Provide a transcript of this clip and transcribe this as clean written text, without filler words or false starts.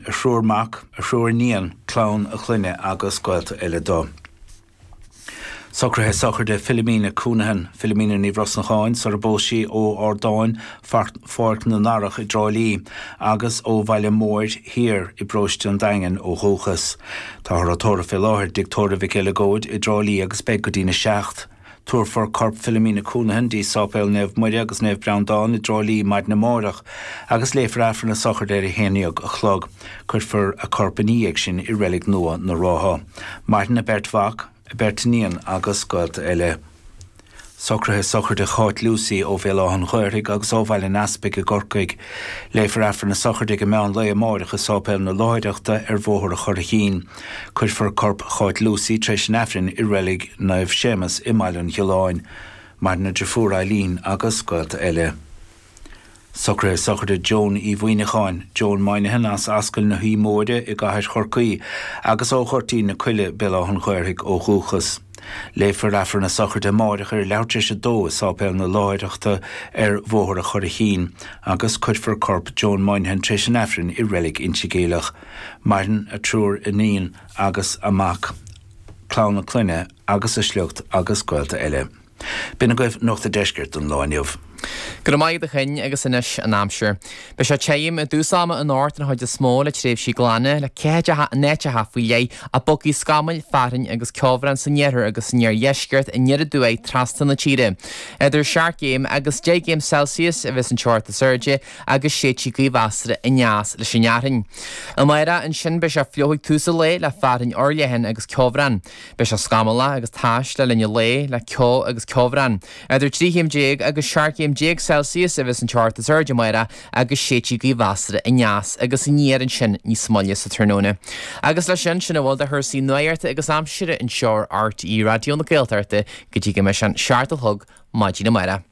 A thriúr mac, a thriúr iníon, clann a clainne agus gaolta eile dó. Socruithe sochraide Philomena Counihan, Philomena Ní Bhrosnacháin, sar a bpós sí ó Ardáin, Pháirc na nDarach i dTrá Lí, agus ó Bhaile Móir Thiar i bparóiste an Daingin ó dhúchas. Táthar á tórramh fé láthair i dTigh Tórraimh Mhic Eileagóid i dTrá Lí agus beidh go dtína seacht. Tabharfar corp Philomena Counihan dtí Sáipéal Naomh Muire agus Naomh Breandán i dTrá Lí maidin amárach agus léifear Aifreann a sochraide ar a haon dhéag a chlog. Cuirfear a corp ina dhiaidh sin i Reilig Nua na Rátha. Maireann a beirt mhac, a beirt iníon agus gaolta eile. Socruithe sochraide Cháit Lucey ó Bhéal Átha an Ghaorthaidh agus ó Bhaile an Easpaig i gCorcaigh. Léifear Aifreann a sochraide ag an meán lae amáireach i Sáipéal na Láithreachta ar Bhóthar an Churraichín. Cuirfear corp Cháit Lucey tar éis an Aifrinn i Reilig Naomh Séamus i mBaile an Ghiolláin. Maireann a driofúr Eileen agus gaolta eile. Socruithe sochraide Joan Uí Mhuineacháin, Joan Moynihan as Ascaill na hUí Móire i gCathair Chorcaí agus ó Ghoirtín na Coille, Béal Átha an Ghaorthaidh ó dhúchas. Léifear Aifreann a sochraide amáireach ar leathuair tar éis a dó i Sáipéal na Láithreachta ar Bhóthar an Churraichín agus cuirfear corp Joan Moynihan tar éis an Aifrinn i Reilig Inse Geimhleach. Maireann a triúr iníon agus a mac, clann a clainne agus a sliocht agus gaolta eile. B'in agaibh Nuacht an Deiscirt don lá inniu. Go raibh maith agat a Chinn agus anois an aimsir. Beidh sé tirim i dtús ama anocht den chuid is mó le tréimhsí glana, le ceathair in áiteacha faoi leith ach bogfaidh scamaill, fearthainn agus ceobhrán san iarthar agus san iardheisceart aniar aduaidh trasna na tíre. Idir 7 gcéim agus 10 gcéim Celsius a bheas an teocht is airde agus séidfidh gaoth mheasartha aneas leis an fhearthainn. Amárach ansin beidh sé fliuch ag tús an lae le fearthainn fhorleathan agus ceobhrán. Beidh sé scamallach agus tais le linn an lae, le ceo agus ceobhrán. Idir 13 chéim agus 17 chéim Celsius a bheas an teocht is airde amárach agus séidfidh gaoth mheasartha aneas agus aniar ansin níos moille sa tráthnóna. Agus leis sin, sin a bhfuil de chúrsaí nuachta agus aimsire anseo ar RTÉ Raidió na Gaeltachta go dtí go mbeidh sé an 7 a chlog maidin amárach.